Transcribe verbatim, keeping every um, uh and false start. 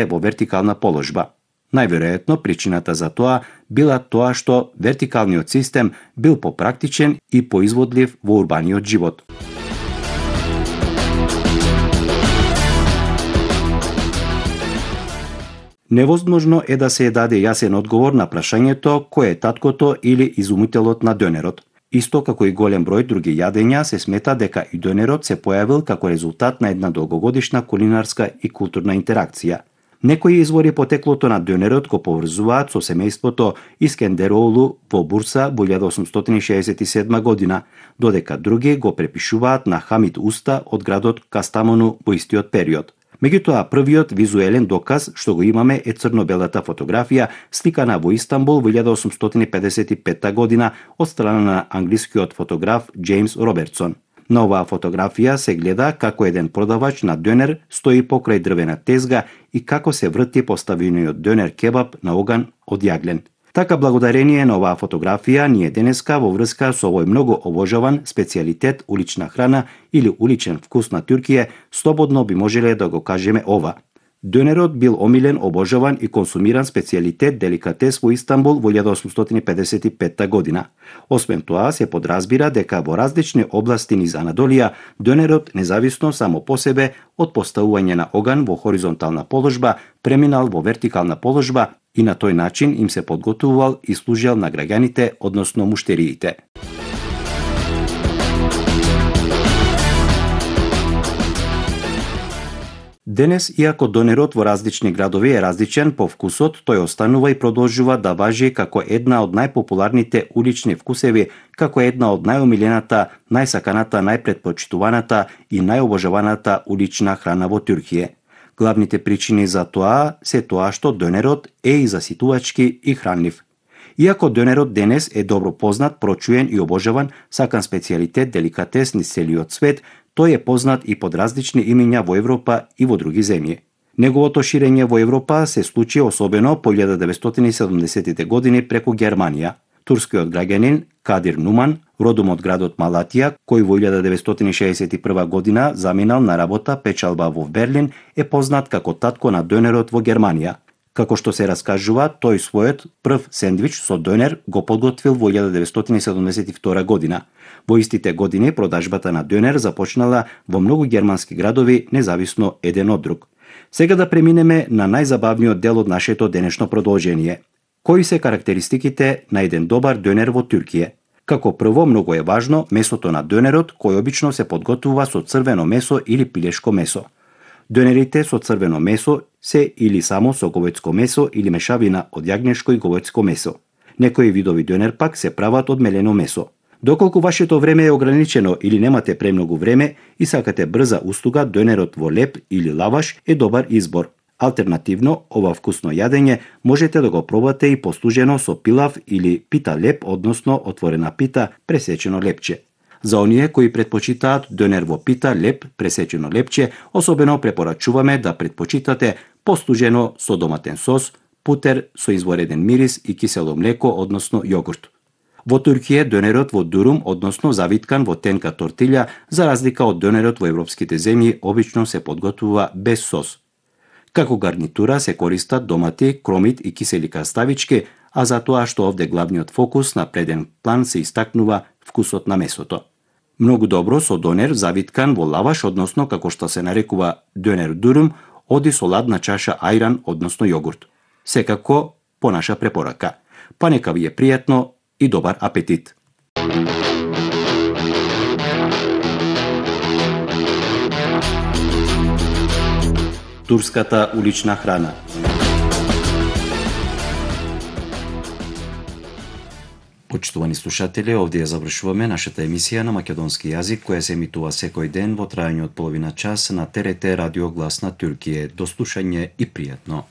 во вертикална положба. Најверојатно причината за тоа била тоа што вертикалниот систем бил попрактичен и поизводлив во урбаниот живот. Невозможно е да се даде јасен одговор на прашањето кој е таткото или изумителот на донерот. Исто како и голем број други јадења, се смета дека и донерот се појавил како резултат на една долгогодишна кулинарска и културна интеракција. Некои извори потеклото на донерот го поврзуваат со семејството Искендероглу во Бурса во илјада осумстотини шеесет и седма година, додека други го препишуваат на Хамид Уста од градот Кастамону во истиот период. Меѓутоа, првиот визуелен доказ што го имаме е црно-белата фотографија сликана во Истанбул во илјада осумстотини педесет и петта година од страна на англискиот фотограф Џејмс Робертсон. На оваа фотографија се гледа како еден продавач на донер стои покрај дрвена тезга и како се врти поставениот донер кебаб на оган од јаглен. Така, благодарение на оваа фотографија, ние денеска во врска со овој многу обожаван специјалитет улична храна или уличен вкус на Туркија, слободно би можеле да го кажеме ова. Донерот бил омилен, обожаван и консумиран специјалитет деликатес во Истанбул во илјада осумстотини педесет и петта година. Освен тоа, се подразбира дека во различни области низ Анадолија, донерот, независно само по себе од поставување на оган во хоризонтална положба, преминал во вертикална положба и на тој начин им се подготвувал и служел на граѓаните, односно муштериите. Денес, иако донерот во различни градови е различен по вкусот, тој останува и продолжува да важи како една од најпопуларните улични вкусеви, како една од најомилената, најсаканата, најпретпочитуваната и најобожаваната улична храна во Туркија. Главните причини за тоа се тоа што донерот е и заситувачки и хранлив. Иако донерот денес е добро познат, прочуен и обожаван, сакан специјалитет, деликатес низ целиот свет, тој е познат и под различни имиња во Европа и во други земји. Неговото ширење во Европа се случи особено по илјада деветстотини и седумдесеттите години преку Германија. Турскиот граѓанин Кадир Нуман, родом од градот Малатија, кој во илјада деветстотини шеесет и прва година заминал на работа печалба во Берлин, е познат како татко на донерот во Германија. Како што се раскажува, тој својот прв сендвич со донер го подготвил во илјада деветстотини и седумдесет и втора година. Во истите години продажбата на донер започнала во многу германски градови, независно еден од друг. Сега да преминеме на најзабавниот дел од нашето денешно продолжение. Кои се карактеристиките на еден добар донер во Туркија? Како прво, многу е важно месото на донерот, кој обично се подготвува со црвено месо или пилешко месо. Донерите со црвено месо се или само со говецко месо или мешавина од јагнешко и говецко месо. Некои видови донер пак се прават од мелено месо. Доколку вашето време е ограничено или немате премногу време и сакате брза услуга, донерот во леп или лаваш е добар избор. Алтернативно, ова вкусно јадење можете да го пробате и послужено со пилав или пита леп, односно отворена пита, пресечено лепче. За оние кои предпочитаат донер во пита, леп, пресечено лепче, особено препорачуваме да предпочитате послужено со доматен сос, путер со извореден мирис и кисело млеко, односно јогурт. Во Туркија донерот во дурум, односно завиткан во тенка тортилја, за разлика од донерот во европските земји, обично се подготвува без сос. Како гарнитура се користат домати, кромит и кисели краставички, а за тоа што овде главниот фокус на преден план се истакнува вкусот на месото. Многу добро со донер завиткан во лаваш, односно како што се нарекува донер дурум, оди со ладна чаша ајран, односно јогурт. Секако по наша препорака. Па нека ви е пријатно и добар апетит. Турската улична храна. Почитувани слушатели, овде ја завршуваме нашата емисија на македонски јазик, која се емитува секој ден во трајање од половина час на Т Р Т Радио Глас на Туркија. До слушање и пријатно.